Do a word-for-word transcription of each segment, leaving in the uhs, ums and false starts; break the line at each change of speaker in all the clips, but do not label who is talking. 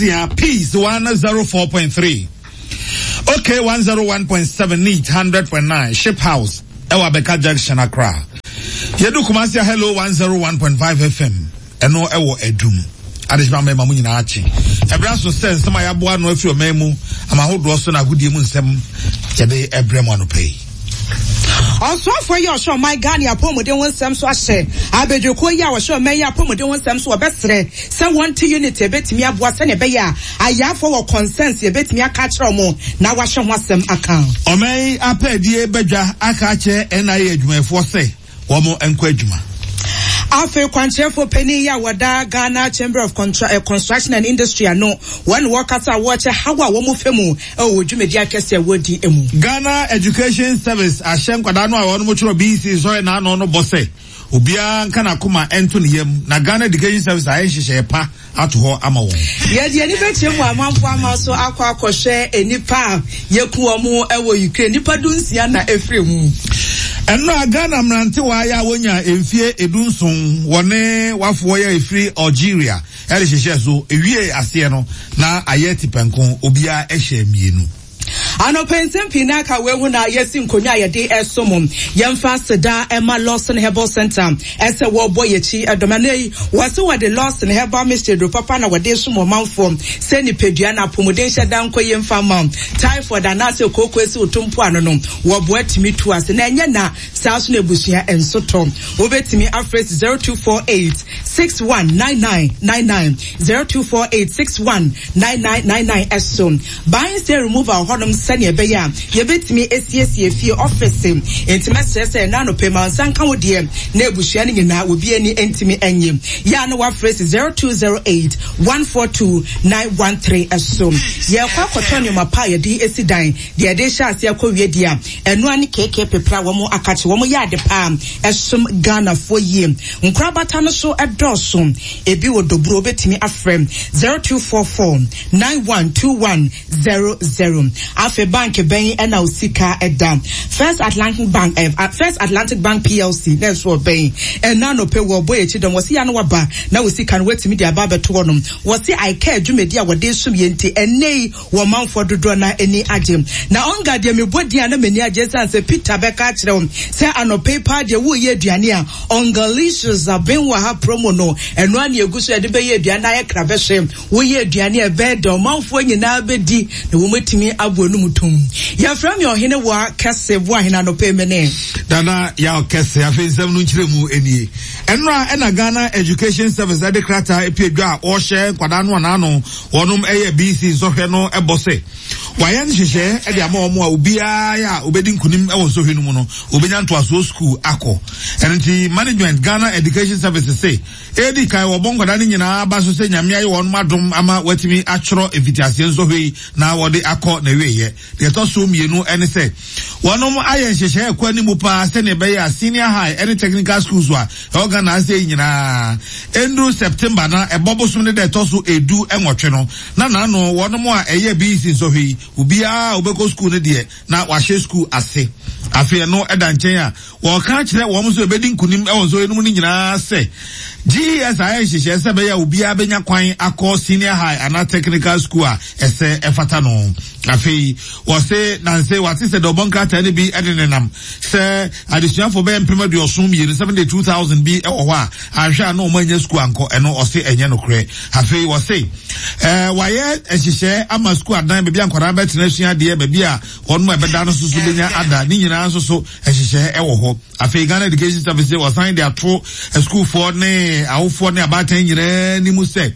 Peace one zero four point three, Okay one zero one point seven, Neat hundred point nine, Ship House, ɛwɔ Abeka Junction, Accra. Yɛdu Kumasi, Hello one zero one point five F M, ɛno ɛwɔ Adum. Adehyema mmarima mu nyinaa akye. Ɛberɛ so sɛ nsɛm a yɛaboa no afiri ɔman mu ama ahodoɔ so na agodie mu nsɛm yɛde ɛbrɛ mu anɔpa yi.
Ɔsoafoɔ yi a ɔhyɛ ɔman Ghana apɔmuden ho nsɛm so ahyɛ abadwakuo yi a wɔhyɛ ɔman yi apɔmuden ho nsɛm so, wɔbɛsrɛ sɛ wɔnte unit ebetumi aboa sɛnea ɛbɛyɛ a ayafoɔ wɔ concerns yɛbɛtumi aka akyerɛ wɔn na wahyɛ ho asɛm aka.
Ɔman yi apɛɛdie badwa aka akyerɛ N I A adwumayɛfoɔ sɛ wɔn nkɔ adwuma.
Afei kwankyerɛfoɔ panyin yi a wɔda Ghana Chamber of Contra eh, construction and Industry ano, wɔn wɔkasa a wɔkyɛ haw a wɔn fɛ mu ɛwɔ dwumadi akɛse a wɔdi mu.
Ghana Education Service ahyɛ nkwadaa no a wɔn twerɛ B E C sɔrɔ n'ano no bɔ sɛ obiara nka n'akoma nto ne yam na Ghana Education Service ayɛ nhyehyɛeɛ pa ato hɔ ama wɔn.
Yɛde ani bɛkyerɛ mu amanfo ama so akɔ akɔhwɛ nipa a yɛku wɔn wɔ Ukraine, nipa du nsia na efiri mu.
Ɛno a Ghana mmerantewa yɛ a wonya mfie edu nson wɔne wafoɔ yɛ efiri Algeria ɛde hyehyɛ so ewie aseɛ no na ayɛ tipɛnko, obiara ɛhyɛ mmienu.
Anɔpɛ nsɛm pii na aka wei ho na yɛsi nkonnwa a yɛde ɛsom. Yɛmfa aseda ɛma Lawson Herbal Center ɛsɛ wɔbɔ yɛkyi ɛdɔm. Ɛnɛ yi wɔse wɔde Lawson Herbal Mixture duro papa na wɔde som ɔmanfoɔ sɛ nipadua na apɔmuden hyɛ da nkɔ yɛmfa ma typhoid anaasɛ kooko esi wo mpo ano no, wɔboa tumi tu ase na ɛnyɛ na saa so na abusua nso tɔ. Wobɛtumi afrɛ zero two four eight six one nine nine nine nine, zero two four eight six one nine nine nine nine. Ɛso buying stain removal hɔnom sɛnea ɛbɛyɛ a yɛbɛtumi esiesie fie, office. Nti mɛsrɛ sɛ ɛna anɔpɛ ma nsa nka wo deɛ na abusua no nyinaa obi ani ntumi nye yɛ a na wafrɛ si zero two zero eight one four two nine one three. Ɛso yɛkɔ akɔtɔ nneɛma pa a yɛde esi dan deɛ yɛde hyɛ ase akɔ wie deɛ a ɛnoa ne keke pepra wɔn akakye wɔn yɛ ade paa ɛsom Ghanafoɔ yie. Nkorabata no so ɛdɔɔso, ebi wɔ Dobro, obetumi afrɛ zero two four four nine one two one zero zero. Afei bank bɛn ɛna osika ɛda? First Atlantic Bank, eh, First Atlantic Bank P L C na ɛso ɔbɛn ɛna anɔpɛ wɔ ɔbɔ akyi dɔm wɔsi ya no waba na osika no watumi de aba abɛto hɔnom. Wɔsi I C A dwumadi a wɔde som yɛn ti ɛnɛ yi wɔ manfoɔ dodoɔ na ani agye na ɔnga deɛ mebɔ din a na m'ani agye san sɛ Peter bɛka akyerɛ wo sɛ anɔpɛ yi paa deɛ woyɛ aduane a Ongalicious aben wɔ ha promo no ɛno a ne egu so yɛde bɛyɛ aduane ayɛ kra bɛhwɛ woyɛ aduane a ɛbɛyɛ dɛ ɔmanfoɔ nyinaa bɛdi na wɔmatumi abɔ anum tom. Yɛfrɛ me Ɔhene wɔ kɛse bo ahene anɔpɛ yi mene
Dana Yaw Kɛse. Afei nsɛm no nkyerɛ mu nie. Ɛnora ɛna Ghana Education Service ɛde krataa epie dwa a ɔrehyɛ nkwadaa no anaano wɔnom ɛyɛ B E C nsɔhwɛ no ɛbɔ sɛ wayɛ nhyehyɛ ɛde ama wɔn a obiara yɛ a obedi nkunim ɛwɔ nsɔhwɛ no mu no obenya ntoasoɔ sukuu akɔ. Ɛno nti management Ghana Education Service sɛ edi kan wɔbɔ nkwadaa no nyinaa ba so sɛ Nyame ayɛ wɔn adom ama wɔatumi atwerɛ mfitiaseɛ nsɔhwɛ yi na wɔde akɔ na awieɛ. Deɛ ɛtɔ so mmienu ɛne sɛ wɔnom ayɛ nhyehyɛ ɛkɔ anim paa sɛnea ɛbɛyɛ a senior high ɛne technical schools a ɛwɔ Ghana ase yi nyinaa ɛnduru September na ɛbɔ bosom ne dɛ ɛtɔ so edu ɛnwɔtwe no na n'ano wɔnom a ɛyɛ B E C nsɔhwɛ yi, obiara a obɛkɔ school no deɛ na wahyɛ school ase. Afei ɛno ɛda nkyɛn a wɔka kyerɛ wɔn nso ebɛdi nkunim ɛwɔ nsɔhwɛ no mu no nyinaa sɛ G E S ayɛ nhyehyɛ sɛ ɛbɛyɛ a obiara bɛnya kwan akɔ senior high anaa technical school a ɛsɛ ɛfata no. Afei wɔse nanse wate sɛ dɔbɔ nkrataa no bi ɛde nenam sɛ adesuafoɔ bɛyɛ mpem aduɔson mmienu, seventy two thousand bi ɛwɔ hɔ a ahwɛ a na wɔn anya sukuu ankɔ. Ɛno ɔse ɛnyɛ nokorɛ. Afei wɔse ɛɛ wayɛ nhyehyɛ ama sukuu adan, baabi a nkwadaa bɛtena asua adeɛ, baabi a wɔn mu ɛbɛda no nso so bɛnya ada ne nyinaa nso so nhyehyɛ ɛwɔ hɔ. Afei Ghana Education Service wɔsan de ato sukuufoɔ ne awofoɔ ne abaatan nyinaa anim sɛ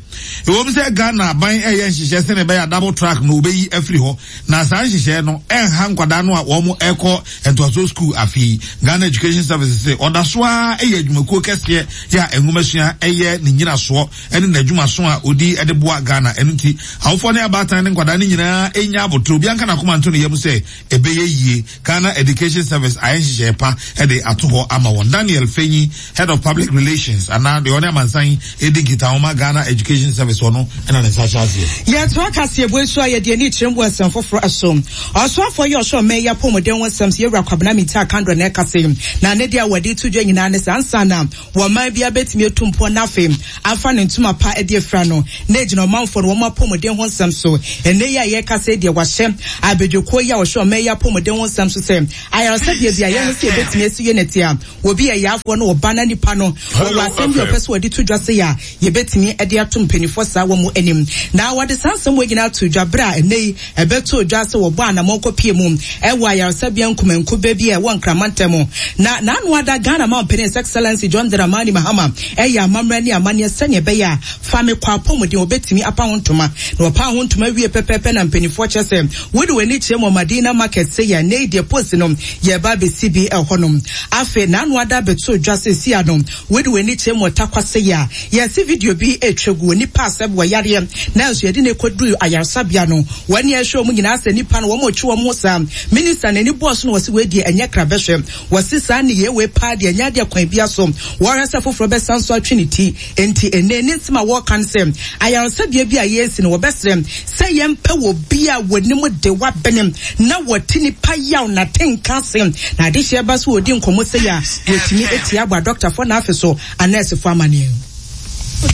ɛwɔ mu sɛ Ghana aban ɛyɛ nhyehyɛ sɛnea ɛbɛyɛ a double track no wɔbɛyi afiri hɔ na saa nhyehyɛ no ɛnha nkwadaa no a wɔn ɛkɔ ntoaso sukuu. Afei Ghana Education Service sɛ ɔda so ara ɛyɛ adwumakuo kɛseɛ yɛ a nwomasua ɛyɛ ne nyinasoɔ ɛne n'adwumaso a odi ɛde boa Ghana. Ɛno nti awofoɔ ne abaatan ne nkwadaa no nyinaa ɛnya abotire, obi anka n'akoma nto ne yam sɛ ɛbɛyɛ yie. Ghana Education Service ayɛ nhyehyɛ pa ɛde ato hɔ ama wɔn. Daniel Fenyi, Head of Public Relations anaa deɛ ɔne amansan edi nkitahoma, Ghana Education Education Service ɔno ɛna ne nsa hyɛ aseɛ.
Yɛtoa kaseɛbɔ yi so a, yɛde ani kyerɛ mu wɔ nsɛm foforɔ so. Ɔsoafoɔ yi a ɔhwɛ ɔman yi apɔmuden ho nsɛm so, Yɛwura Kwabena Mintah Akandoh na ɛkasa yi. Na ne deɛ a wɔde to dwa nyinaa ne sɛ ansa na wɔman biara bɛtumi atu mpɔn na afei afa ne ntoma pa de afira no, na ɛgyina ɔmanfoɔ no wɔn apɔmuden ho nsɛm so. Ɛnnɛ yi a yɛrekasa yi deɛ, wɔahyɛ abadwakuo yi a wɔhwɛ ɔman yi apɔmuden ho nsɛm so sɛ ayaresabea bi a yɛn ho sɛ yɛbɛtumi asi yɛ nɛte a wɔbi yɛ yaafoɔ no wɔba na nipa no wɔwɔ asɛm bi a ɔpɛ sɛ wɔde to dwa sɛ yɛ a yɛbɛtumi de ato mpanimfoɔ saa wɔ mu anim. Na wɔde saa nsɛm wɔ nyinaa to dwa berɛ a ɛnnɛ yi ɛbɛto dwa sɛ wɔbɔ anammɔn kɔpie mu ɛwɔ ayaresabea nkumankuba bi a ɛwɔ Nkramantam. Na n'ano ada Ghana manpanin His Excellency John Dramani Mahama ɛyɛ amammerɛ ne amanneɛ sɛnea ɛbɛyɛ a fa me kɔ apɔmuden wɔbɛtumi apa ho ntoma, na wɔpa ho ntoma wie pɛpɛɛpɛ na mpanimfoɔ kyerɛ sɛ wode w'ani kyerɛ mu Madina Market sɛ yɛ ɛnnɛ yi deɛ post no yɛba abɛsi bi ɛhɔnom. Afei n'ano ada abɛto dwa sɛ si ano wode w'ani kyerɛ mu Ɔtakwa sɛ yɛ a yɛsi video bi etwa gu nipa asɛ wɔ yareɛ nanso yɛde ne kɔduru ayaresabea no, wɔn ani ɛhwɛ wɔn nyinaa sɛ nipa no wɔn retwe wɔn ho saa. Minister n'ani bɔɔ so na wɔsi wei deɛ ɛnyɛ krabɛhwɛ, wɔsi saa ne yɛ wei paa deɛ ɛnyɛ adeɛ kwan bia so wɔhwɛ sɛ foforɔ bɛsan so atwe ne ti. Nti ɛnɛ ne nsɛm a wɔreka no sɛ ayaresabea bi a yɛresi no, wɔbɛsrɛ sɛ yɛmpɛ wɔ bi a wɔnim de wabene na wɔte nipa yaw na tenka ase na adehyɛ ba so wɔdi nkɔmmɔ sɛ yɛ a wɔtumi etia abɔ adɔktafoɔ na afei so anɛɛsefoɔ amaneɛ.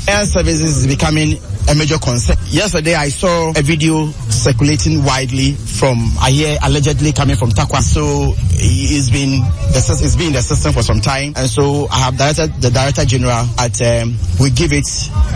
Air services is becoming a major concern. Yesterday, I saw a video circulating widely from, I hear, allegedly coming from Tarkwa. So it's been the, it's been in the system for some time, and so I have directed the Director General at um, we give it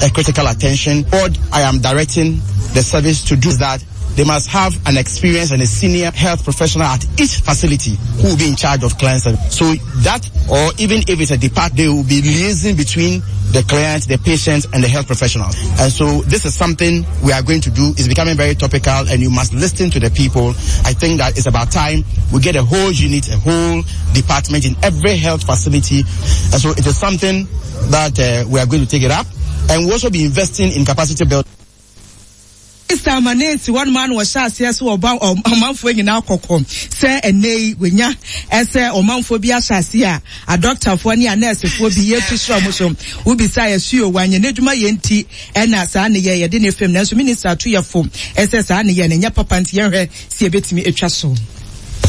a critical attention. What I am directing the service to do is that they must have an experienced and a senior health professional at each facility who will be in charge of client service. So that, or even if it's a department, they will be liaising between the client, the patient, and the health professionals. And so this is something we are going to do. It's becoming very topical, and you must listen to the people. I think that it's about time we get a whole unit, a whole department in every health facility. And so it is something that uh, we are going to take it up. And we'll also be investing in capacity building.
Mister Amanesi wɔn mu ano wɔhyɛ aseɛ so ɔba ɔmanfoɔ nyinaa kɔkɔ sɛ ɛnɛ yi wɔnya ɛsɛ ɔmanfoɔ bi ahyɛ aseɛ a adɔktafoɔ ne anɛɛsefoɔ bi yɛtu soro ɔmo so wobisa yɛ suo wanyɛ n'adwuma yɛ nti ɛna saa ne yɛ yɛde ne fam, nanso minister ato yɛ fo ɛsɛ saa ne yɛ ne nyɛ papa nti yɛhwɛ si ebetumi atwa so.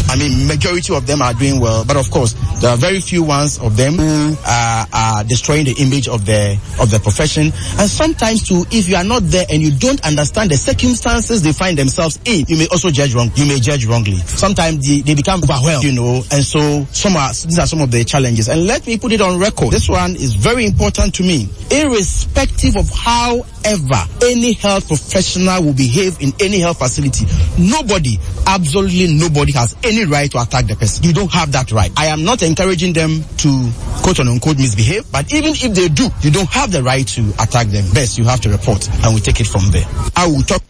I mean, majority of them are doing well, but of course, there are very few ones of them who are, are destroying the image of the of the profession. And sometimes too, if you are not there and you don't understand the circumstances they find themselves in, you may also judge wrong. You may judge wrongly. Sometimes they, they become overwhelmed, you know, and so some are, these are some of the challenges. And let me put it on record. This one is very important to me. Irrespective of however any health professional will behave in any health facility, nobody, absolutely nobody has any right to attack the person. You don't have that right. I am not encouraging them to quote unquote misbehave, but even if they do, you don't have the right to attack them. Best, you have to report and we take it from there. I will talk.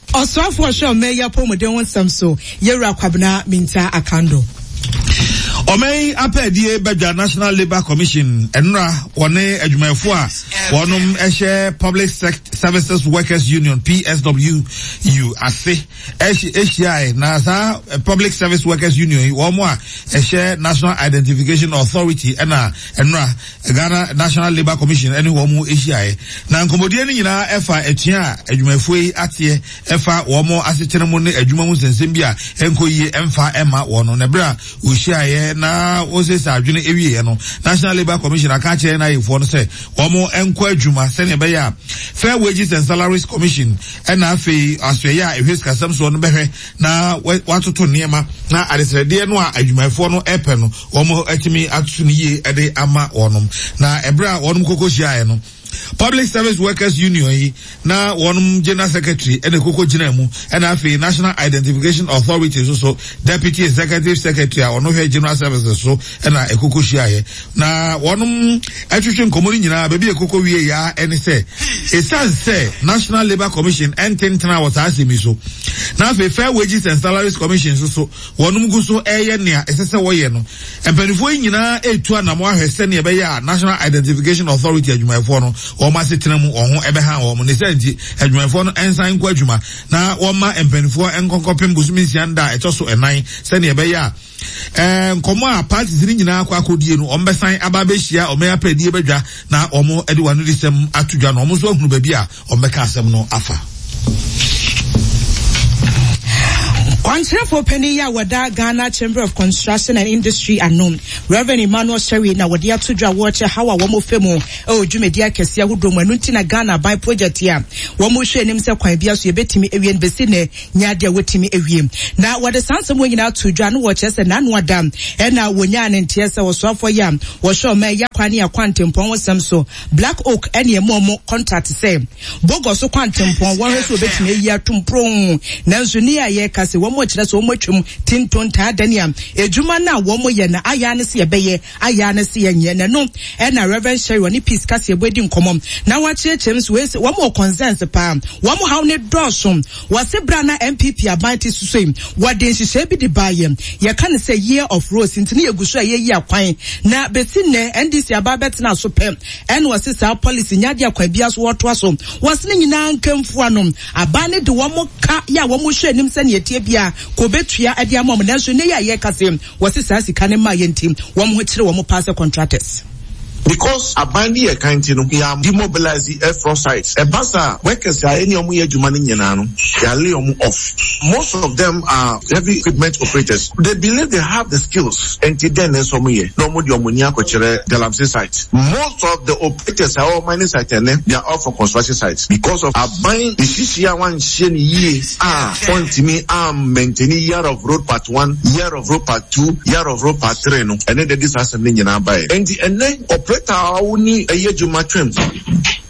Ɔsoafoɔ hwɛ ɔman yi apɔmuden ho nsɛm so, Yɛwura Kwabena Mintah Akandoh.
Ɔman apɛdie badwa National Labour Commission ɛnora wɔne adwumayɛfoɔ a wɔnom ɛhyɛ Public Services Workers Union, P S W U, ase ɛhyiae. Na saa Public Service Workers Union yi wɔn a ɛhyɛ National Identification Authority ɛna ɛnora Ghana National Labour Commission ɛne wɔn ahyiae, na nkɔmmɔdie no nyinaa ɛfa atua a adwumayɛfoɔ yi ateɛ ɛfa wɔn asetena mu ne adwuma mu nsɛnsɛm bi a ɛnkɔ yie ɛmfa ɛma wɔn no. Na ɛberɛ a wɔhyiaeɛ na wɔsiesie adwene awieɛ no, National Labour Commission aka akyerɛ n'ayɛfoɔ no sɛ wɔn nkɔ adwuma sɛnea ɛbɛyɛ a Fair Wages and Salaries Commission ɛna afei asoɛyɛ a ɛhwɛ sikasɛm soɔ no bɛhwɛ na watoto nneɛma na adesrɛdeɛ no a adwumayɛfoɔ no ɛpɛ no wɔn atumi atoto no yie ɛde ama wɔnom. Na ɛberɛ a wɔnom koko hyiaeɛ no, Public Service Workers Union yi na wɔn general secretary ɛna koko gyina mu, ɛna afei National Identification Authority nso so deputy executive secretary a ɔno hwɛ general services so ɛna ekoko hyiaeɛ na wɔn ɛtwitwi nkɔmɔ no nyinaa. Baabi ekoko wie ya ɛne sɛ esan sɛ National Labour Commission ɛntentena wɔ saa asɛm yi so, na afei Fair Wages and Salaries Commission nso so wɔn gu so ɛyɛ nea ɛsɛ sɛ wɔyɛ no, mpanimfoɔ yi nyinaa etu anamɔ ahwɛ sɛnea ɛbɛyɛ a National Identification Authority adwumayɛfoɔ no Wɔn asetena mu wɔn ho ɛbɛha wɔn ne sɛ nti adwumayɛfoɔ no nsan nkɔ adwuma na wɔma mpanimfoɔ nkɔnkɔpem bosome nsia da a ɛtɔ so ɛnan sɛnea ɛbɛyɛ a ɛɛ nkɔmɔ a parties ne nyinaa akɔ akɔdie no, wɔn bɛsan aba abɛhyia wɔn yɛ apɛdie bɛdwa na wɔn de wɔn ano de sɛm ato dwa na wɔn nso ahunu baabi a wɔn bɛka asɛm no afa.
Kwankyerɛfoɔ panin yi a wɔda Ghana Chamber of Construction and Industry ano, Reverend Emmanuel Sherry, na wɔde ato dwa wɔrekyɛ haw a wɔn fɛ mu ɛwɔ dwumadi akɛseɛ ahodoɔ mu. Ɛno nti na Ghana aban project a wɔn hwɛ anim sɛ kwan bi so yɛbɛtumi awie no bɛsi nɛ nyɛ adeɛ a wɔtumi awie. Na wɔde saa nsɛm wɔn nyinaa to dwa no, wɔkyerɛ sɛ n'ano ada ɛna wɔnyaa ne nteɛ sɛ wɔsoafoɔ yi a wɔhwɛ ɔman yi akwan ne akwantempɔn ho sɛm so, Black Oak, ɛne ɛmu ɔmo contract sɛ Bogoso kwantempɔn wɔhwɛ sɛ wɔbɛtumi ayi atom pron, nanso ne a yɛka sɛ wɔn kyerɛ sɛ wɔn atwam tintontaa dani a edwuma no a wɔn yɛ na ayɛ ne sɛ yɛbɛyɛ ayɛ ne sɛ yɛnyɛ. Na no ɛna Reverend Sherry ɔne Peace Kaseɛbɔ edi nkɔmɔ na wɔakyerɛkyerɛ mu so wɔn wɔn wɔ concerns paa, wɔn haw ne dɔɔso. Wɔsi bra na N P P aban te soso yi, wɔde nhyehyɛ bi de baayɛ, yɛka ne sɛ Year of Roads, nti ne yɛgu so a yɛyi akwan, na besi nnɛ N D C aba bɛtena so pɛ ɛna wɔsi saa policy nyadeɛ akwan bi so wɔtoa so. Wɔsi ne nyinaa nkɛmfua no aban ne de wɔn ka yɛ a wɔn hwɛ anim sɛ nea etie bia kò betua ɛde ama wɔn, nanso ne yɛ a yɛka se wɔsi saa sika ne mmaa yɛ nti wɔn ho kyerɛ wɔn paa sɛ contractors.
Because aban bi yɛ kan ti no, yɛ demobilize airfloor sites. Ɛba saa, workers a ɛne ɔmo yɛ adwuma no nyinaa no, yɛ lay ɔmo off. Most of them are heavy equipment operators. They believe they have the skills, nti then nso ɔmo yɛ na ɔmo de ɔmo ni akɔkyerɛ galamsey site. Most of the operators a wɔwɔ mining site ɛnɛ, they are all from construction sites because of aban esisi a wanhyɛ ne yie a wɔntumi a maintain Year of Road part one, Year of Road part two, Year of Road part three no. Ɛne de de saa asɛm no nyinaa ba yɛ nti ɛnɛ operator a woni ɛyɛ adwuma twɛm,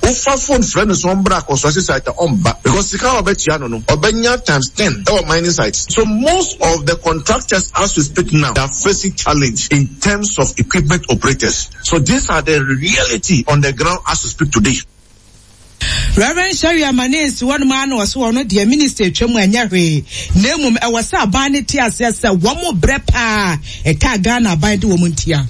wofa phone frɛ no sɛ ɔmbra construction site a, ɔmba because sika a ɔbɛtua no no ɔbɛnya times ten ɛwɔ mining sites. So most of the contractors as we speak now, they are facing challenge in terms of equipment operators. So these are the reality on the ground as we speak today.
Reverend Sherry Amane si wɔn ano ɔso wɔn deɛ minister atwa mu ɛnyɛ hwee, na emom ɛwɔ sɛ aban ne te aseɛ sɛ wɔn mo brɛ paa ɛka Ghana aban de wɔn ntia.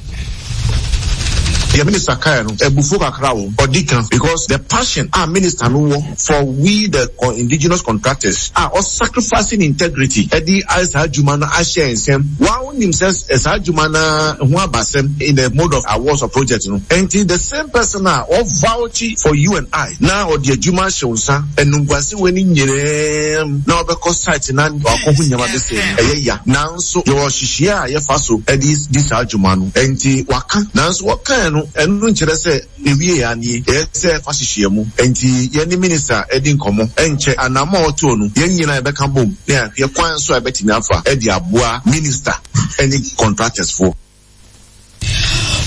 Deɛ minister kae no, abufuo kakra wɔ ɔdi kan because the passion a minister no wɔ for we the indigenous contractors a ɔsacrificing integrity ɛde ayɛ saa adwuma no ahyɛ nsɛm wɔn nim sɛ saa adwuma no ho abasɛm in the mode of awards of project no. Nti the same person a ɔvouch for you and I na ɔde adwuma ahyɛ wo nsa, enumguase wɔ ne nyinaa na ɔbɛkɔ site na wakɔ ho nneɛma bɛsɛ ɛyɛ ya, nanso yɛwɔ hyehyɛ a yɛfa so ɛde di saa adwuma no. Nti waka, nanso wɔkae no, ɛno nkyerɛ sɛ ewie yɛ anie, ɛyɛ sɛ ɛfa hyehyɛ mu. Nti yɛne minister ɛdi nkɔmɔ, ɛnkyɛ anamɔ a ɔtoo no, yɛn nyinaa yɛbɛka bom na yɛahwɛ kwan so a yɛbɛtumi afa ɛde aboa minister ɛne contractors foɔ.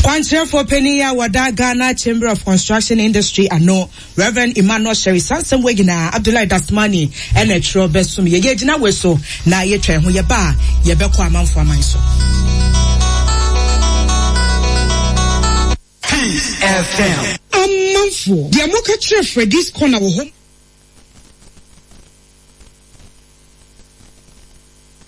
Kwankyerɛfoɔ panin a wɔda Ghana Chamber of Construction Industry ano, Reverend Emmanuel Sherry, sansɛm wɔ nyinaa Abdullahi Dasmani ɛna ɛtwerɛ bɛsom yɛyɛ gyina wei so na yɛtwa ho yɛba a yɛbɛkɔ amanfo aman so.
Peace F M.
Amanfoɔ deɛ moka kyerɛ Freddy's Corner wɔ hɔ.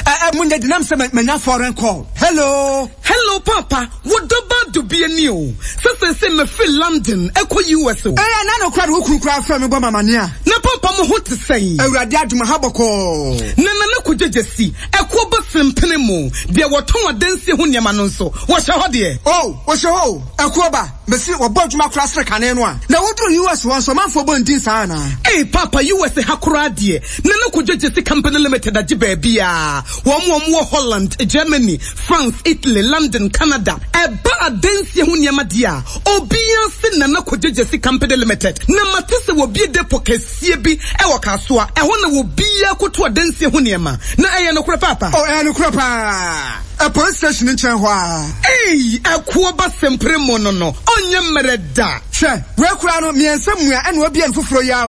Ɛ mu nyɛ dinam sɛ manya foreign call. Hello.
Hello papa, wo dɔba dubie ni o. Sɛ sɛ sɛ mefiri London ɛkɔ U S o.
Ɛyɛ na no kora de wo kunu kora frɛ me bɔ mamane a.
Na papa, mo ho te sɛn?
Awurade adom, ha bɔkɔɔ.
Na nana kɔgyegye si ɛkoɔ bɛ sempene mu deɛ wɔtɔn adansie ho nneɛma no nso wɔhyɛ hɔ deɛ.
O, wɔhyɛ hɔ o, ɛkoɔ ba mesi wɔbɔ adwuma kora sere kane no a na woduru U S hɔ nso ɔmanfoɔ bɔ ndin saa anaa?
Ei papa, U S ha koraa deɛ, Nana Kɔgyegye si Company Limited agye baabi a wɔn wɔn wɔ Holland, Germany, France, Italy, London, Canada. Ɛba adansie ho nneɛma deɛ a, obiara se Nana Kɔgyegye si Company Limited. Na mate sɛ wɔbie depo kɛseɛ bi ɛwɔ Kasoa, ɛhɔ na wɔbiara koto adansie ho nneɛma. Na ɛyɛ nokorɛ papa?
O, ɛyɛ nokorɛ paa, ɛ police station nkyɛn hɔ a.
Ei, ɛkoɔ ba sempere mu no no ɔnyɛ mmerɛ da.
Hwɛ, wei koraa no mmiɛnsa mua ɛna wabie no foforɔ yi a.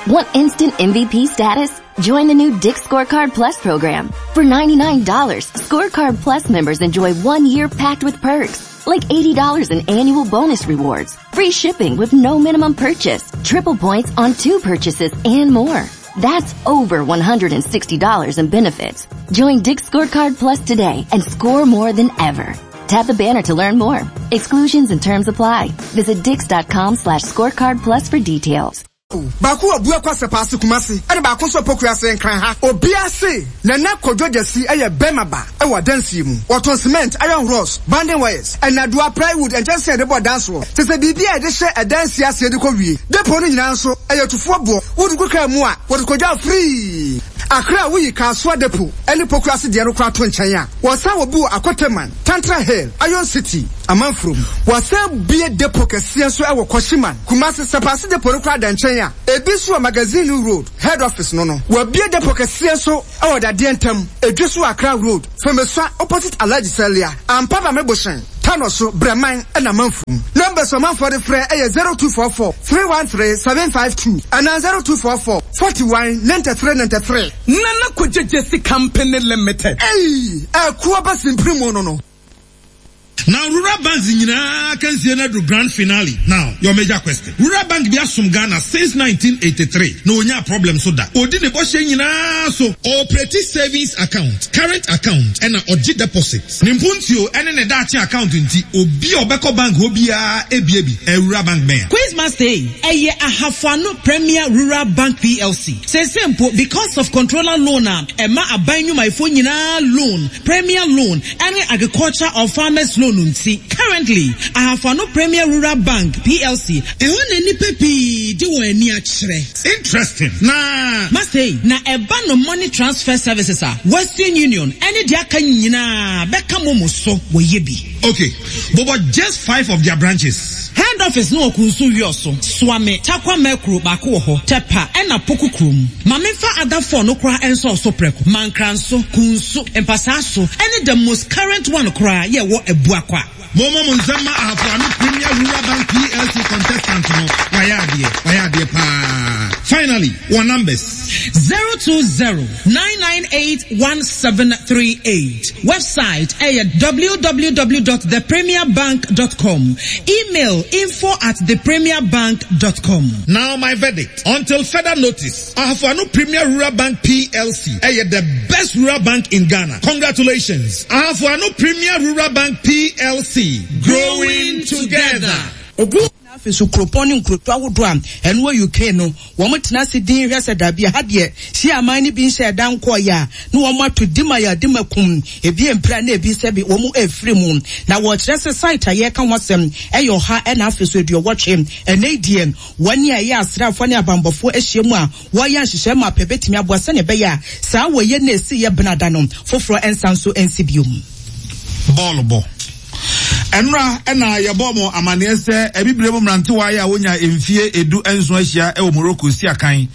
Want instant M V P status? Join the new Dick's Scorecard Plus program. For ninety-nine dollars, Scorecard Plus members enjoy one year packed with perks, like eighty dollars in annual bonus rewards, free shipping with no minimum purchase, triple points on two purchases, and more. That's over one hundred sixty dollars in benefits. Join Dick's Scorecard Plus today and score more than ever. Tap the banner to learn more. Exclusions and terms apply. Visit dicks dot com slash scorecard plus for details.
Baako wɔ Buakwa Sɛpaase Kumase, ɛna baako nso Pokuase Nkran ha. Obiara se Nana Kodwo Gyasi ɛyɛ bɛrima ba ɛwɔ adansie mu. Wɔtɔn cement, iron rods, bonding wires, ɛnadoa, plywood, nkyɛnsee a yɛde bɔ dan soɔ. Te sɛ biribi a yɛde hyɛ adansie aseɛ de kɔ wie. Depo no nyinaa nso ɛyɛ tufoɔ boɔ. Wode gu kaa mu a, wɔde kɔgya free. Akra a woyi Kasoa Depo ɛne Pokuase deɛ no koraa to nkyɛn a, wɔsan wɔ bi wɔ Akoteman, Tantra Hill, Iron City, Amanfurom. Wɔsan bie depo kɛseɛ nso ɛwɔ Kɔhyiman, Kumase Sɛpaase depo no koraa da nkyɛn a, ebi nso wɔ Magazine Road, head office no no. Wɔabie depo kɛseɛ nso ɛwɔ Dadeɛ Ntam, Edwe so Accra Road, Fomesua opposite Alhaji Salia, Ampaba Mebohyɛn, Tano so, Brɛman ɛna Amanfurom. Numbers ɔmanfoɔ de frɛ ɛyɛ zero two four four three one three seven five two anaa zero two four four forty-one ninety-three ninety-three.
Nana Kodwo Gyesi Company Limited.
Ei, ɛkoa ba simpiri mu no no.
Now, rural banks nyinaa kansie no adu grand finale. Now, your major question: rural bank bi asom Ghana since nineteen eighty-three na onya problem so da. Odi ne bɔhyɛ nyinaa so. Ɔoperate savings account, current account, ɛna ɔgye deposit. Ne mpuntuo ɛne ne daakye account nti, obi a ɔbɛkɔ bank hɔ biara ebie bi. Rural bank bɛn?
Quiz Master, ɛyɛ Ahafoano Premier Rural Bank P L C. Sese mpo, because of controller loan a ɛma aban nnwumayɛfoɔ nyinaa loan, premier loan ɛne agriculture or farmers loan nti, currently Ahafoano Premier Rural Bank P L C ɛhɔ na nnipa pii de wɔn ani akyerɛ.
Interesting. Na
Master, na ɛba no money transfer services a, Western Union ɛne deɛ aka nyinaa bɛka mo mo so wɔyɛ bi.
Okay, but, but just five of their branches.
Head office no wɔ Kunsu Wiɔso, Suame, Takwa Mɛkuro baako wɔ hɔ, Tɛpa ɛna Poku kurom. Maame fa adafoɔ no koraa nso ɔso prɛko, Mankranso, Kunsu, Mpasaa so, ɛne the most current one koraa yɛ wɔ Abuakwa.
Momo mo nsɛm ma Ahafoano Premier Rural Bank P L C contestant no. Wayɛ adeɛ, wayɛ adeɛ paa. Finally, wɔn numbers.
zero two zero nine nine eight one seven three eight. Website ɛyɛ w w w dot the premier bank dot com. Email info at the premier bank dot com.
Now my verdict. Until further notice, Ahafoano Premier Rural Bank P L C ɛyɛ the best rural bank in Ghana. Congratulations. Ahafoano Premier Rural Bank P L C. Growing together.
Afei so kuropɔn ne nkuroto ahodoɔ a ɛno wɔ U K no, wɔn tena ase din hwɛ sɛ dabi ha deɛ si aman no bi nhyɛ ɛda nkɔɔyɛ a na wɔn ato dima yɛ dima kum ebi mpira na ebi sɛ bi wɔn efiri mu. Na wɔkyerɛ sɛ site a yɛka ho asɛm ɛyɛ ɔha ɛna afei so aduɔwɔtwe. Ɛnɛ deɛ wɔn a ɛyɛ asraafoɔ ne abanbɔfoɔ ahyia mu a wɔyɛ nhyehyɛ ma apɛ bɛtumi aboa sɛnea ɛbɛyɛ a saa wɔyɛ na esi yɛ benada no foforɔ nsa nso nsi biom.
Bɔɔlo bɔ. Ɛnora ɛna yɛbɔ mo amanneɛ sɛ abibire mu mmerantewa yi a wonya mfie edu nson ahyia ɛwɔ Morocco si akan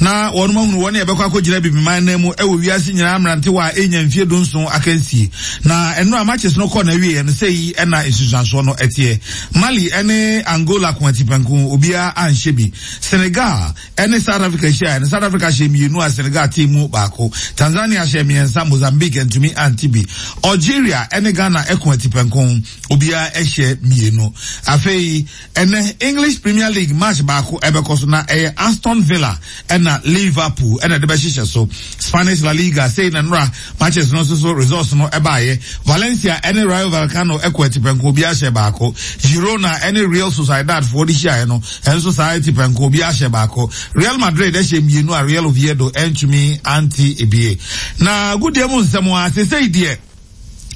na wɔn ahunu wɔn a yɛbɛkɔ akɔgyina bibiman nan mu ɛwɔ wiase nyinaa mmerantewa a ɛnya mfie du nson akansie. Na ɛnora matches no kɔ na awie no sɛ yi ɛna nsusuansoɔ no ɛteɛ: Mali ɛne Angola ko atipɛnko, obiara anhyɛ bi. Senegal ɛne South Africa hyia ɛne South Africa hyɛ mmienu a Senegal te mu baako. Tanzania hyɛ mmiɛnsa, Mozambique ntumi ante bi. Algeria ɛne Ghana ɛko atipɛnko, obiara ɛhyɛ mmienu. Afei ɛnɛ English Premier League match baako ɛbɛkɔ so na ɛyɛ Aston Villa ɛna Liverpool ɛna ɛde bɛhyehyɛ so. Spanish La Liga, sei na nora matches no nso so results no ɛbaayɛ: Valencia ɛne Rayo Vallecano ɛkɔ atipɛnko, obiara hyɛ baako. Girona ɛne Real Sociedad foɔ de hyiaeɛ no ɛnso saa, atipɛnko, obiara hyɛ baako. Real Madrid ɛhyɛ mmienu a Real Oviedo ɛntumi ante ebie. Na gudie mu nsɛm a sesei deɛ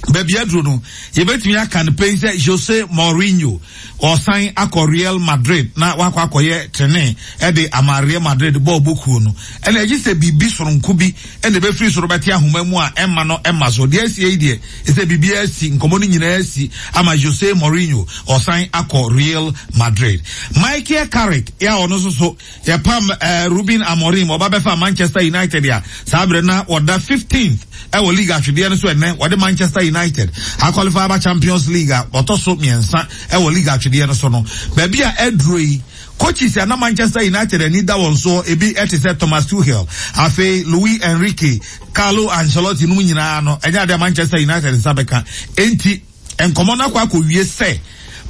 baabi aduro no, yɛbɛtumi aka no pɛn sɛ Jose Mourinho ɔsan akɔ Real Madrid na wakɔ akɔyɛ trene ɛde ama Real Madrid bɔɔl bokuo no. Ɛna ɛgye sɛ biribi soronko bi ɛna ɛbɛfiri soro bɛte ahoma mu a ɛma no ɛma so deɛ asie yi deɛ ɛsɛ biribi asi nkɔmɔ no nyinaa asi ama Jose Mourinho ɔsan akɔ Real Madrid. Michael Carrick yɛ a ɔno nso so yɛpam ɛɛ Ruben Amorim ɔba bɛfa Manchester United a saa abirɛ na ɔda fifteenth ɛwɔ league ahwedeɛ no so, ɛnɛ wɔde Manchester United aqualify aba Champions League a ɔtɔ so mmiɛnsa ɛwɔ league ahwedeɛ no so no, baabi a ɛduro yi, coaches a na Manchester United ani da wɔn so ebi ɛte sɛ Thomas Tuchel, afei Luis Enrique, Carlo Ancelotti no nyinaa no, ɛnyɛ adeɛ Manchester United nsa bɛka. Enti nkɔmɔ no akɔ akɔwie sɛ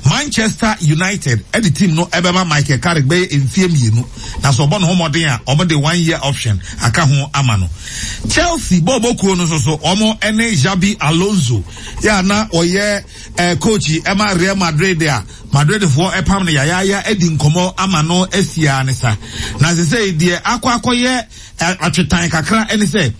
Manchester United ɛde team no ɛbɛma Michael Carrick bɛyɛ mfie mmienu na sɛ ɔbɔ ne ho mmɔden a ɔmo de one year option aka ho ama no. Chelsea bɔɔbɔ kuo no nso so ɔmo ɛne Xabi Alonso yɛ a na ɔyɛ ɛɛ coach ɛma Real Madrid a Madridfoɔ ɛpam no yayaaya adi nkɔmɔ ama no asia ne sa na sɛ deɛ akɔ akɔyɛ atwetan kakra ɛne sɛ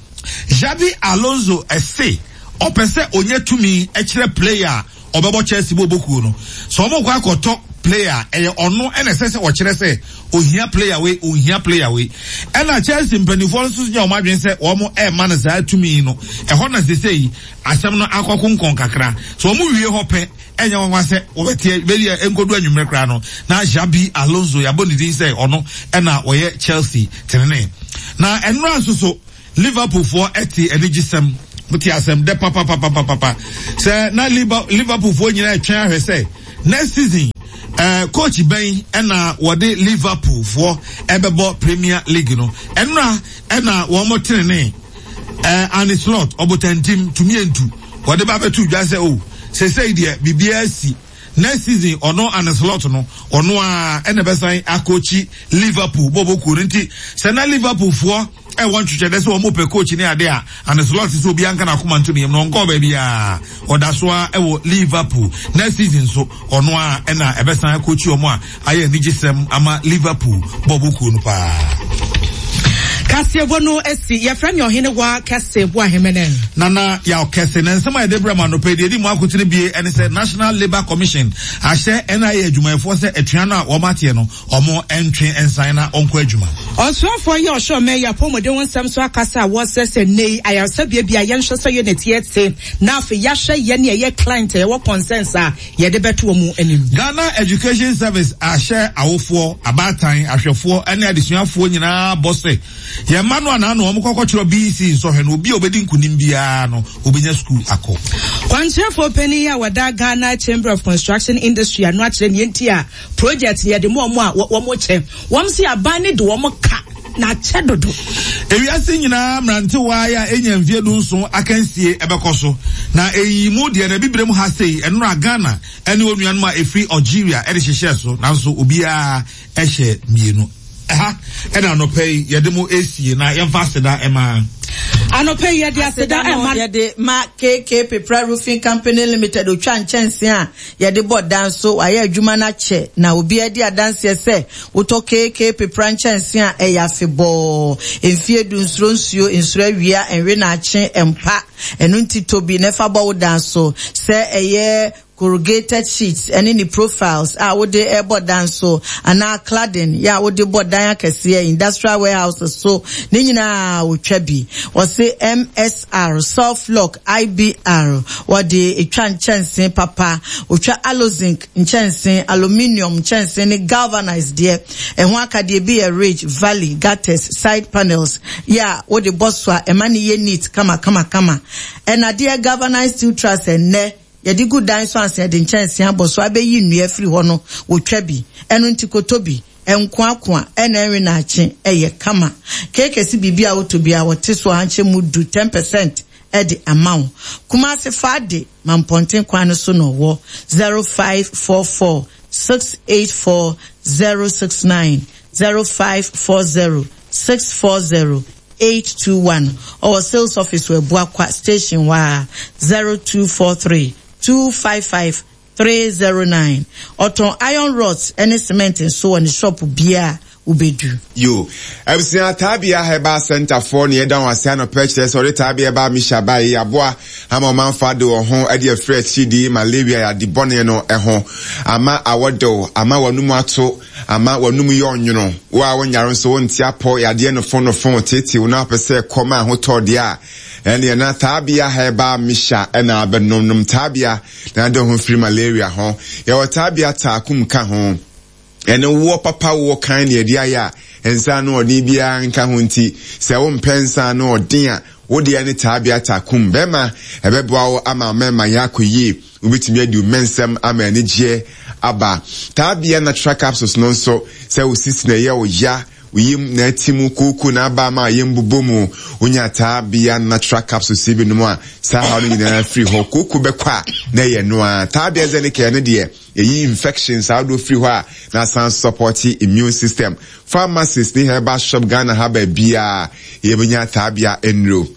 Xabi Alonso ɛse ɔpɛ sɛ onye tumi ɛkyerɛ player ɔbɛbɔ Chelsea bɔ bokuo no so ɔmo kɔ akɔtɔ player ɛyɛ ɔno ɛna ɛsɛ sɛ ɔkyerɛ sɛ ohia player wei ohia player wei ɛna Chelsea mpanimfoɔ nso nyɛ ɔmo adwene sɛ ɔmo ɛɛma no saa tumi no ɛhɔ na sese yi asɛm no akɔ konkɔn kakra so ɔmo wie hɔ pɛ ɛnyɛ wɔn wa sɛ wɔbɛteɛ bɛbi a nkodu anwummerɛ koraa no na Xabi Alonso yabɔ ne din sɛ ɔno ɛna ɔyɛ Chelsea tenene na ɛnura nso so Liverpool foɔ ɛte anigyesɛm wote asɛm dɛ papapapapapa sɛ na Liverpool foɔ nyinaa ɛtwɛn ahwɛ sɛ next season uh, coach bɛn ɛna wɔde Liverpool foɔ ɛbɛbɔ Premier League no ɛnura ɛna wɔn mo tenene ɛɛ Arne Slot ɔbotantim tumi ntu wɔde ba bɛtu dwa sɛ o sɛsɛyi deɛ biribiara si next season ɔno Arne Slot no ɔno a ɛna bɛsan akɔkyi Liverpool bɔbɔ kuo no nti sɛ na Liverpool foɔ ɛwɔ ntwitwɛ dɛ sɛ wɔn pɛ coach ne ade a Arne Slot sɛ obi anka n'akoma nto ne yam no ɔnkɔɔ baabi a ɔda so a ɛwɔ Liverpool next season so ɔno a ɛna ɛbɛsan akɔkyi wɔn a ayɛ anigyesɛm ama Liverpool bɔbɔ kuo no paa.
Kaseɛbɔ no esi yɛfrɛ me ɔhene wa kɛse bo ahemene.
Nana yaw kɛse na nsɛm a yɛde brɛ ma no pɛ deɛ di mu akotene bie ɛne sɛ National Labour Commission ahyɛ N I A adwumayɛfoɔ sɛ atua no a wɔn ateɛ no wɔn ntwe nsan na ɔnkɔ adwuma.
Ɔsoafoɔ yi ɔhyɛ ɔmɛ yɛ apɔmuden ho nsɛm so akasa a wɔsɛ sɛ nei ayaresabea bi a yɛnhwɛ sɛ yɛ ne te na afei yɛahwɛ yɛ ne ɛyɛ client a yɛwɔ concerns a yɛde bɛto wɔn anim.
Ghana Education Service ahyɛ awofoɔ abaatan ahwɛfoɔ ne adesuafoɔ nyinaa bɔ sɛ yɛn mma no anaa no wɔn kɔkɔ kyerɛ B E C nsɔhwɛ no obi a obedi nkunim biara no obenya school akɔ.
Kwankyerɛfoɔ panin a wɔda Ghana Chamber of Construction Industry ano akyerɛ ne nti a project yɛde mu ɔmo a wɔn kyɛ wɔn si aban ne de wɔn ka na akyɛ dodo.
Ewiase nyinaa mmerantewa a enya mfie du nson akansie ɛbɛkɔ so na eyi mu deɛ na ebibire ha sei ɛnora Ghana ɛne onuanom a efiri Algeria ɛde hyehyɛ so nanso obiara ɛhyɛ mmienu. Ha ɛna anɔpɛ yi yɛde mo esie na yɛmfa aseda ɛma.
Anɔpɛ yi yɛde aseda ɛma.
Yɛde ma K K Pepra Roofing Company Limited otwa nkyɛnse a yɛde bɔ dan so ayɛ adwuma na kyɛ na obi adi adanseɛ sɛ wotɔ K K Pepra nkyɛnse a ɛyɛ afebɔɔ mfie du nsuro nsuo nsuro awia ɛnwe na akye mpa ɛno nti tobi na ɛfa bɔ wo dan so sɛ ɛyɛ corrugated sheets ɛne ne profiles a wode ɛbɔ dan so anaa cladding ya wode bɔ dan akɛseɛ industrial warehouses so ne nyinaa wotwa bi wɔse M S R soft lock I B R wɔde etwa nkyɛnse papa otwa alozinc nkyɛnse aluminium nkyɛnse ne galvanized deɛ ɛho akadeɛ bi yɛ ridge valley gutters side panels ya wode bɔ so a ɛma ne yɛ neat kama kama kama ɛna deɛ galvanized steel truss ɛnɛ yɛde gu dan so ansa yɛde nkyɛnse abɔ so abɛyi nnua firi hɔ no wotwa bi ɛno nti koto bi ɛnkoakoa ɛna ɛnwe naakye ɛyɛ kama keekesi biribi a woto bi a wɔte so ankyɛ mu du ten percent ɛde ama wo Kumasi Fade Mampɔnten kwan no so no wɔ zero five four four six eight four zero six nine zero five four zero six four zero eight two one or sales office wɔ Buakwa station wa zero two four three two five five three zero nine. Ɔtɔn iron rods ɛne cement nso wɔ ne shop bia ubedu.
Yo, Ebsia Tabia Herbal Center for ne yɛda wɔn ase anɔpɛ kyerɛ sɛ ɔde Tabia ba Misha ba yi aboa ama ɔmanfa de wɔn ho de afiri akyidi malaria yade bɔne no ho ama awɔdew ama wɔnum ato ama wɔnum yɛ ɔnwono wo a wonyare nso wonte apɔ yadeɛ no fon no fon tete wo na apɛ sɛ kɔma ahotɔ deɛ a ɛne na Tabia Herbal Misha ɛna abɛnom nom Tabia na de ho firi malaria ho yɛwɔ Tabia taakum ka ho ɛne wo papa wo kan ne adi aya nsa no ɔden bia nka ho nti sɛ wo mpɛ nsa no ɔden a wo de ne Tabia takum bɛma ɛbɛboa wo ama mɛma ya akɔyie wobɛtumi adi mɛnsɛm ama anigyeɛ aba Tabia natural capsules no nso sɛ wo sisi na ɛyɛ wo ya Yim na atimu kuku na aba ma yem bobɔ mu. Wonya Taabea Natural Capsules bi nom a, saa haw no nyinaa firi hɔ. Kuku bɛkɔ a na ɛyɛ no a. Taabea Zenicare no deɛ, ɛyi infections ahodoɔ firi hɔ a na asan support immune system. Pharmacies ne herbal shop Ghana ha baabiara yɛbɛnya Taabea nnuro.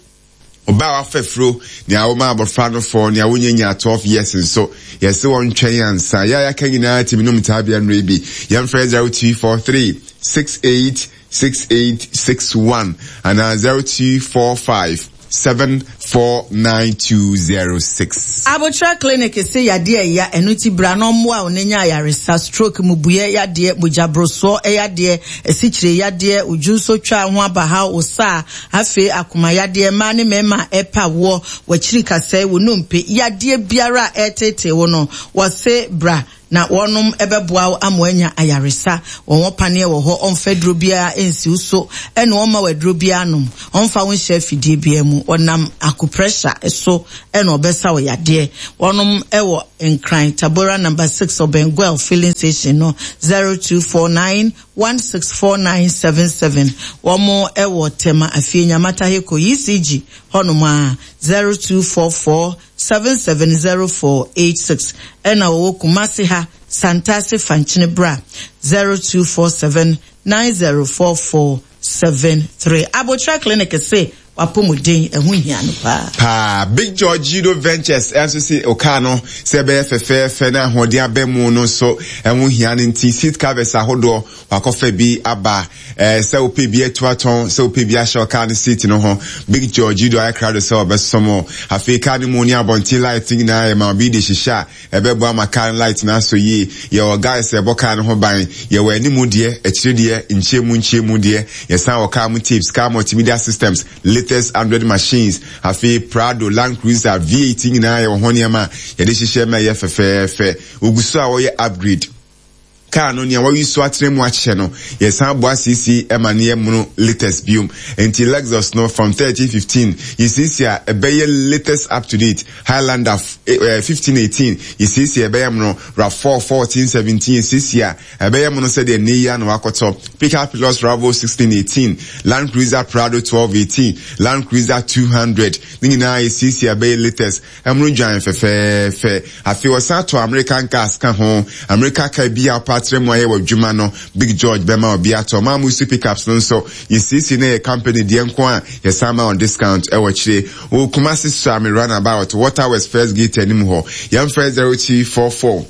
Ɔbaa wafa furo, nea wɔma abɔfra no fɔ, nea wonya nya twelve years nso, yɛsɛ wɔn twɛn ansa. Yɛ a yɛaka nyinaa tumi nom Taabea nnuro bi. Yɛmfrɛ zero two four three six eight six eight six one anaa zero two four five seven four nine two zero six.
Abotra Clinic se yadeɛ ɛya ɛno ti bra na ɔmmoa wo na nya ayaresa. Stroke, mubuyɛ yadeɛ, mogyaborosoɔ ɛyadeɛ, asikyire yadeɛ, odwunso twa ho abahaw, osaa, afei akoma yadeɛ, mmaa ne mmarima ɛpa woɔ, wakyiri kasɛe, wo nnompe, yadeɛ biara a ɛtetee wo no, wɔse bra na wɔnom ɛbɛboa wo ama anya ayaresa. Wɔn wɔ paneɛ wɔ hɔ, ɔmfa duro biara nsi wo so, ɛna ɔmma wo aduro biara nom, ɔmfa wo nhyɛ afidie biara mu. Ɔnam acupressure so ɛna ɔbɛsa wo yadeɛ. Wɔnom ɛwɔ Nkran, Tabora number six, ɔbɛn Goil filling station no, zero two four nine one six four nine seven seven. Wɔn ɛwɔ Tema Afie Nyamata Heko E C G hɔnom a zero two four four seven seven zero four eight six. Ɛna wɔwɔ Kumasi ha, Santase Fankyene Bra, zero two four seven nine zero four four seven three. Abotra Clinic se wapomuden ɛho hia no paa.
Paa. Big George Judo Ventures ɛnso si okaa no sɛ ɛbɛyɛ fɛfɛɛfɛ na ahoɔden abɛ mu no nso ɛho hia no nti seat covers ahodoɔ wakɔfa bi aba. Eh, sɛ wopɛ bi atu atɔn, sɛ wopɛ bi ahyɛ ɔkaa no seat no ho, Big George Judo ayɛ krado sɛ ɔbɛsom. Afei kaa no mu ne abɔnten light nyinaa yɛ ma obi de hyehyɛ a ɛbɛboa ma kaa no light no asɔ yie. Yɛwɔ guys ɛbɔ kaa no ho ban, yɛwɔ animu deɛ, akyire deɛ, nkyɛmu nkyɛmu deɛ, yɛsan wɔ kaa mu tapes, kaa multimedia systems, latest Android machines, afei Prado, Land Cruiser, V eight nyinaa yɛwɔ ho nneɛma a yɛde hyehyɛ ma ɛyɛ fɛfɛɛfɛ. Ogu so a wɔyɛ upgrade. Kaa no nea wɔyi so atena mu akyɛ no, yɛsan boa siesie ɛma ne yɛ mono latest biom. Nti Lexus no from thirteen fifteen yɛsiesie a ɛbɛyɛ latest up to date. Highlander fifteen eighteen yɛsiesie ɛbɛyɛ mono. RAV four fourteen seventeen yɛsiesie a ɛbɛyɛ mono sɛdeɛ ne yi ano akɔtɔ. Pickup Plus Ravel sixteen eighteen, Land Cruiser Prado twelve eighteen, Land Cruiser two hundred ne nyinaa yɛsiesie ɛbɛyɛ latest. Ɛmono dwan fɛfɛɛfɛ. Afei wɔsan to American cars ka ho. America car bi a ɔpa mu ayɛ wɔ adwuma no, Big George bɛma obi atɔ. Maa mu si pickups no nso yɛsiesie na yɛ company deɛ nko a yɛsan ma on discount ɛwɔ akyire. Wɔ Kumasi Suame runabout Water West First Gate anim hɔ. Yɛmfrɛ zero two four four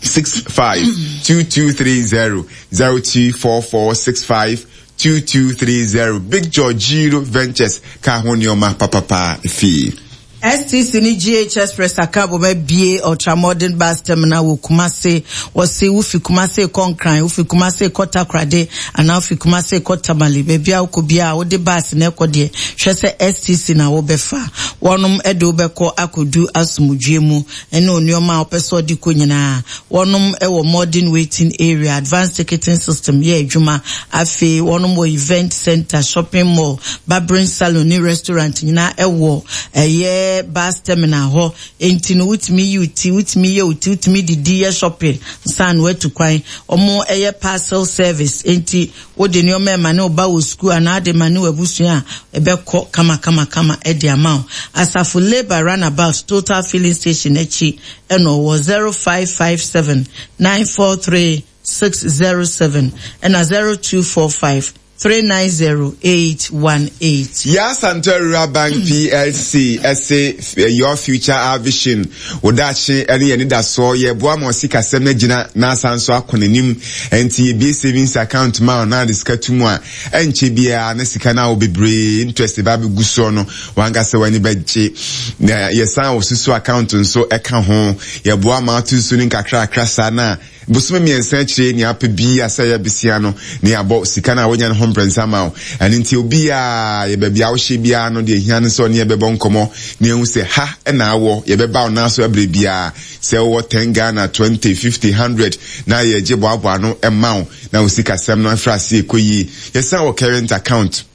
six five two two three zero, zero two four four six five two two three zero. Big George Giro Ventures ka ho nneɛma papapa fie.
S T C ni G H Express aka boma bie ultra modern bus terminal wɔ Kumasi. Wɔsi wufi Kumasi kɔ Nkran, wufi Kumasi kɔ Takoradi, anaa wufi Kumasi kɔ Tamale. Baabi a wokɔ bia wode bus na ɛkɔ deɛ, hwɛ sɛ S T C na wobɛfa. Wɔnom ɛde wobɛkɔ akɔdu asomdwie mu ɛne nneɛma a wopɛ sɛ ɔde kɔ nyinaa. Wɔnom ɛwɔ modern waiting area, advanced ticketing system yɛ adwuma. Afei wɔnom wɔ event center, shopping mall, barbering salon ne restaurant nyinaa ɛwɔ ɛyɛ bus terminal hɔ. Enti no wotumi yi uti, wotumi yɛ uti, wotumi didi yɛ shopping san watu kwan. Ɔmo ɛyɛ parcel service. Enti wode nneɛma ɛma ne ɔba wɔ school anaa de ma ne wabusua a ɛbɛkɔ kama kama kama ɛde ama wo. Asafo Labour runabout Total filling station akyi ɛna ɔwɔ zero five five seven nine four three six zero seven ɛna zero two four five three nine zero eight one eight.
Yasanto Rural Bank P L C S A Your Future Our Vision. Odachi eni yeni da so ye boa mo sika sem na gina na asanso akonanim enti ye bi savings account ma na de sika tumu a enche bia na sika na wo bebre interest ba be guso no wanga se wani begye na ye san wo susu account nso e ka ho ye boa ma atusu ni nkakra akra sa na bosome miensa chire ni ape bi asa ya bisia no ni abo sika na wonya no ho mprensa ma wo ene nti obi a ye ba bia wo hye bia no de hia no so ne ye bebɔ nkomo ne ehu se ha na awo ye beba wo na so abre bia se wo ten Ghana twenty fifty hundred na ye gye boaboa no e ma wo na wo sika sem no afra se ekoyi ye san wo current account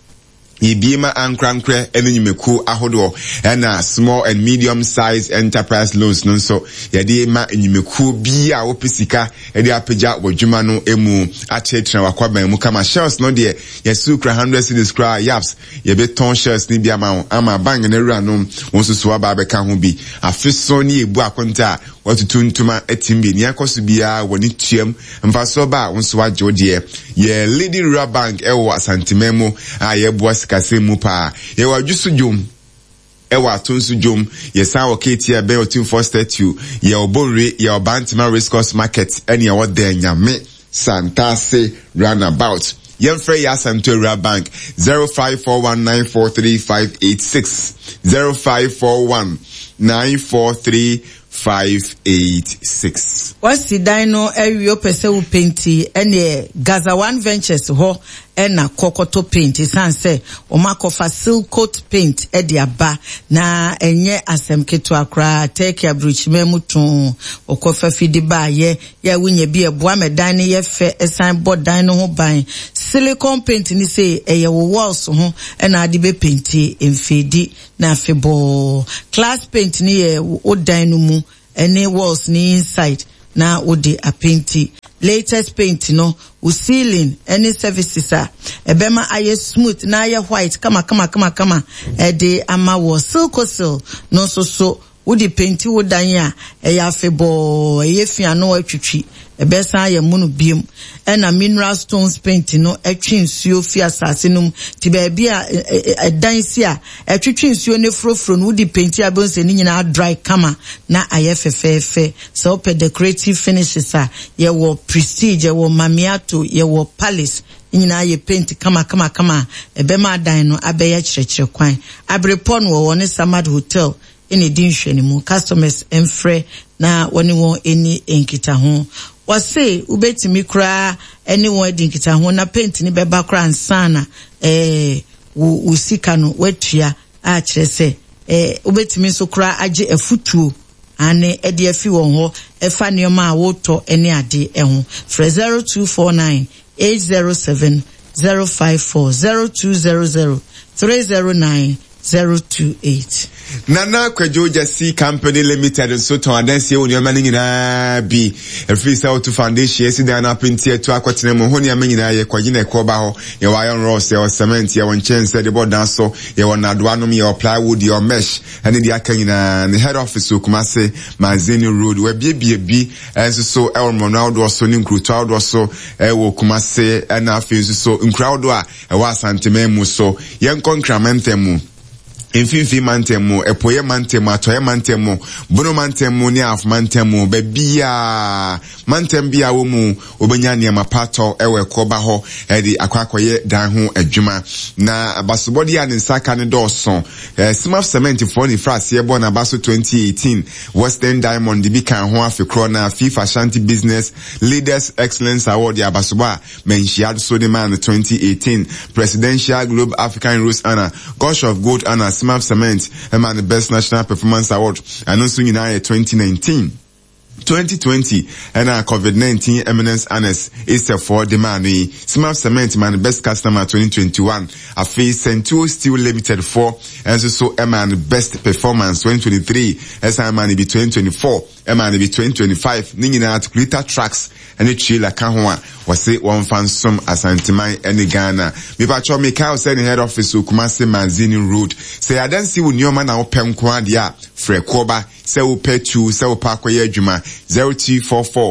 Yɛbie ma ankorankorɛ ne nnwumakuo ahodoɔ, ɛna small and medium size enterprise loans no nso yɛde ma nnwumakuo bi a wɔpɛ sika de apagya w'adwuma no mu akyerɛkyerɛ w'akwaban mu kama. Shells no deɛ, yɛsu kura hundred cedis koraa yaps, yɛbɛtɔn shells no bi ama wo ama bank no awura no wɔn nso so aba abɛka ho bi. Afe so ne yɛbu akonta a watutu ntoma atim bi, nea ɛkɔ so biara wɔ ne tuam mfasoɔ ba a wo nso wagye wo deɛ. Yɛ Leading Rural Bank ɛwɔ Asanteman mu a yɛboa sikasɛm mu paa. Yɛwɔ Adwoso dwom, ɛwɔ Atonso dwom, yɛsan wɔ Keeti a ɛbɛn Otumfoɔ statue, yɛwɔ Bonwire, yɛwɔ Bantama Race Course Market, ɛne ɛwɔ Dɛnyame Santase roundabout. Yɛmfrɛ yɛ Asante Rural Bank zero five four one nine four three five eight six, zero five four one nine four three five eight six.
Wasi dan no awie, wopɛ sɛ wo penti, ɛneɛ Gaza One Ventures hɔ ɛna kɔkɔtɔ paint, ɛsiane sɛ wɔn akɔfa Silcoat paint ɛde aba na ɛnyɛ asɛm ketewa koraa. Turkey aburokyima mu too ɔkɔfa fidi baayɛ yɛ a wonya bi ɛboa ma dan no yɛ fɛ, ɛsan bɔ dan no ho ban. Silicone paint ni sɛ ɛyɛ wo walls ho ɛna ade bɛ penti mfeedi na afebɔɔ. Class paint ni yɛ wo dan no mu ɛne walls ni inside na wode apenti. Latest paint no, wo ceiling ɛne services a ɛbɛma ayɛ smooth na ayɛ white kama kama kama kama ɛde ama wɔ. Silcosil no nso so, wode penti wo dan a ɛyɛ afebɔɔ, ɛyɛ fi ano atwitwi, ɛbɛsan ayɛ mono biem. Ɛna mineral stones paint no ɛtwe nsuo fi asase no mu, ti baabi a ɛdan si a ɛtwitwi nsuo ne furofuro no, wode penti a bɛn sɛ ne nyinaa dry kama na ayɛ fɛfɛɛfɛ. Sɛ wopɛ decorative finishes a, yɛwɔ Prestige, yɛwɔ Mamiato, yɛwɔ Palace, ne nyinaa yɛ paint kama kama kama a ɛbɛma adan no abɛyɛ kyerɛkyerɛ kwan. Aberepɔ no wɔwɔ ne Samad Hotel ɛna ɛdi nhwɛnimu. Customers mfrɛ na wɔne wɔn ani nkitaho. Wɔse wobɛtumi koraa ɛne wɔn adi nkitaho na paint ne bɛba koraa ansa na ɛɛ wo wo sika no watua, a kyerɛ sɛ ɛɛ wobɛtumi nso koraa agye afutuo ane ɛde afi wɔn hɔ ɛfa nneɛma a wotɔ ɛne ade ɛho. Frɛ zero two four nine eight zero seven zero five four, zero two zero zero three zero nine zero two eight.
Nana Kwadwo Gyasi Company Limited nso tɔn adansie wɔ nneɛma no nyinaa bi. Ɛfiri sɛ woto foundation asi dan no apenti atu akɔtena mu ho nneɛma nyinaa yɛ kɔgye na ɛkɔ ba hɔ. Yɛwɔ iron rods, yɛwɔ cement, yɛwɔ nkyɛnsee de bɔ dan so, yɛwɔ nnadoa nom, yɛwɔ plywood, yɛwɔ mesh ɛne deɛ aka nyinaa. Ne head office wɔ Kumase Mazini Road. Wabiebie bi nso so ɛwɔ mmorɔno ahodoɔ so ne nkuroto ahodoɔ so ɛwɔ Kumase, ɛna afei nso so nkuro ahodoɔ a ɛwɔ Asanteman mu so. Yɛnkɔ Nkramantam mu, Mfimfini mantam mu, Ɛpoyɛ mantam mu, Atɔeɛ mantam mu, Bono mantam mu ne Ahafo mantam mu. Baabiaa mantam bi a wɔ mu wobɛnya nneɛma pa tɔ ɛwɔ ɛkɔba hɔ ɛde akɔ akɔyɛ dan ho adwuma. Na abasobɔdeɛ a ne nsa ka ne dɔɔso. eh, Simaf Cement foɔ ne fira aseɛ bɔ n'aba so twenty eighteen, Western Diamond de bi kan ho afe korɔ, na FIFA Ashanti Business Leaders Excellence Award de abasobɔ a manhyia so de maa no twenty eighteen, Presidential Globe African Rose Honour, Gosh of Gold Honour, Simaf Cement ɛma no Best National Performance Award, ɛno nso nyinaa yɛ twenty nineteen. twenty twenty ɛna COVID nineteen Eminence Honours esɛfoɔ de maa no yi. Simaf Cement maa no Best Customer twenty twenty-one. Afei Sentuo Steel Limited foɔ ɛnso so ɛmaa no Best Performance twenty twenty-three, ɛsan maa no bi twenty twenty-four, ɛmaa no bi twenty twenty-five. Ne nyinaa articulator trucks ɛne trailer ka ho a wɔse wɔmfa nsom Asanteman ɛne Ghana. Mipatwɔ mikael sɛ ne head office wɔ Kumase Manzini Road. Sɛ adansi wo nneɛma na wopɛ nko adeɛ a, frɛ kɔba sɛ wopɛ tu sɛ wopɛ akɔyɛ adwuma, zero two four four.